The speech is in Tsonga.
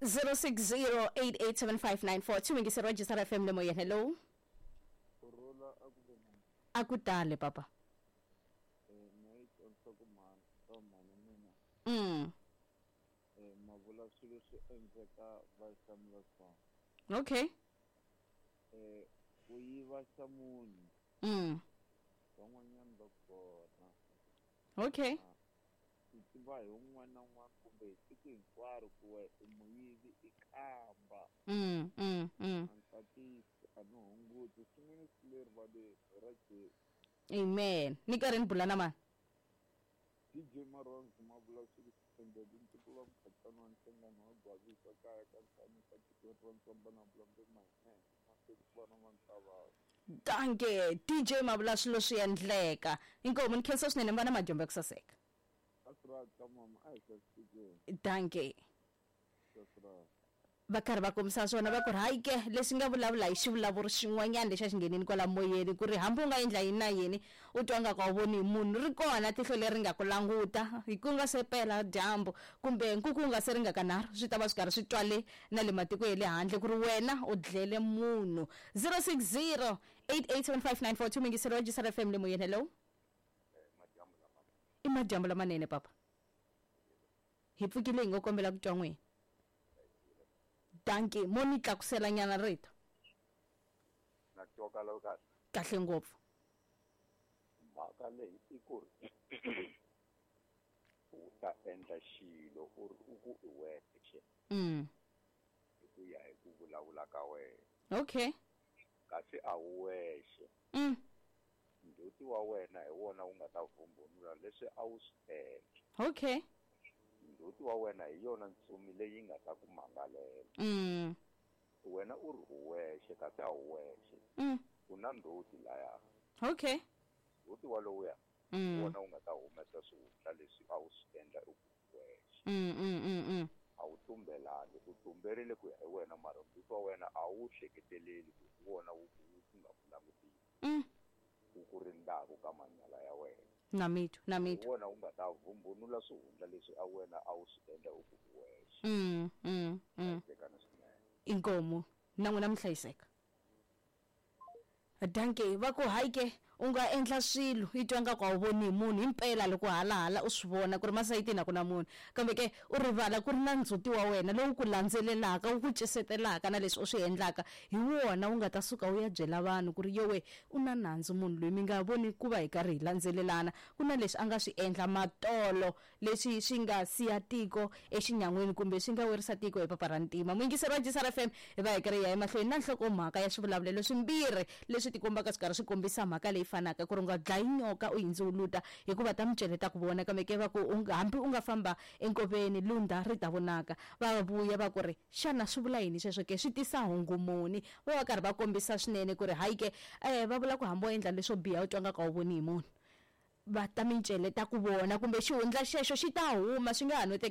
060887594 yingiseri wa Jisara FM le moyeni. Hello. Kurhula a ku ve na. A ku tale papa. Na yi tsonisa ku mhani ka mhani mina. Ma vula swilo swi endleka va hlamula swona. Okay. Ku yiva xa munhu. Van'wanyana va kona. Okay. Swi tiva hi un'wana na un'wana kumbe hi tiko hinkwaro ku we i muyivi i kamba. A ni tatisi a ni hunguti swin'wana swi le rivaleni hi ra Jesu. Amen. Ni karhi ni bula na mani? DJ Maronzo ma vula swilo swi endleke ntukulu wa mukhatsana wa nhlangano wa Gwavisa kaya ka Nhlanyisa tikweni ra Ntswamba na Vulambe Mahinene mahlweni ku va na Mantavava. Dankie DJ ma vula swilo swi endleka. Inkomu ni khensa swinene mi va na madyambu ya ku saseka. That's right ka mama a hi hlayisekeni. Dankie. That's right. Va karhi va kombisa swona va ku ri hayi ke leswi nga vulavula hi xivulavuri xin'wanyana lexi a xi nghenini kwala moyeni ku ri hambi u nga endla yini na yini u twa nga ku a wu voni hi munhu ri kona tihlo leri nga ku languta hi ku nga se pela dyambu kumbe nkuku wu nga se ringa kanharhu swi ta va swi karhi swi twale na le matiko ya le handle ku ri wena u dlele munhu. 060 8875942 yingiseri wa Jisara FM le moyeni. Hello. I madyambu lamanene papa. Hi pfukile hi ngo kombela ku twa n'wina. Dankie mo ni tlakusela nyana rito. Na twakala kahle. Kahle ngopfu. Mhaka leyi i ku ri u ta endla xilo u ri u ku i wexe. Hi ku ya hi ku vulavula ka wena. Okay. Kasi a wu wexe. Ndzhuti wa wena hi wona wu nga ta vumbunula leswi a wu swi endla. Okay. Ndzhuti wa wena hi yona ntsumi leyi nga ta ku mangalela. Wena u ri u wexe kasi a wu wexe. U na ndzhuti laya. Okay. Ndzhuti wa lowuya wona wu nga ta humesa swihundla leswi a wu swi endla u ku wexe. A wu tumbelangi, u tumberile ku ya hi wena mara ndzhuti wa wena a wu hleketeleli ku hi wona wu nga ku langutisi. Wu ku rindzaka ka manyala ya wena. Na mitwa, na mitwa. Wona wu nga ta vumbunula swihundla leswi a wena a wu swi endla u ku wexe. Hlayisekana swinene. Inkomu na n'wina mi hlayiseka. Dankie va ku hayi ke u nga endla swilo i twa nga ku a wu voni hi munhu himpela loko halahala u swi vona ku ri masayitini a ku na munhu kambe ke u rivala ku ri na ndzhuti wa wena lowu ku landzelelaka wu ku cisetelaka na leswi u swi endlaka hi wona wu nga ta suka wu ya byela vanhu ku ri yowe u na nandzu munhu loyi mi nga voni ku va hi karhi hi landzelelana ku na leswi a nga swi endla matolo leswi swi nga siya tiko exinyan'wini kumbe swi nga werisa tiko hi papa ra ntima. Muyingiseri wa Jisara FM hi va hi karhi hi ya emahlweni na nhlokomhaka ya swivulavulelo swimbirhi leswi tikombaka swi karhi swi kombisa mhaka leyi fanaka ku ri u nga dlayi nyoka u hindzuluta hikuva ta micele ta ku vona kambe ke va ku hambi u nga famba enkoveni lunda ri ta vonaka. Va vuya va ku ri xana swi vula yini sweswo ke swi tisa hungu muni va va karhi va kombisa swinene ku ri hayi ke va vula ku hambi wo endla leswo biha u twa nga ku a wu voni hi munhu va ta micele ta ku vona kumbe xihundla xexo xi ta huma swi nga ha no teka.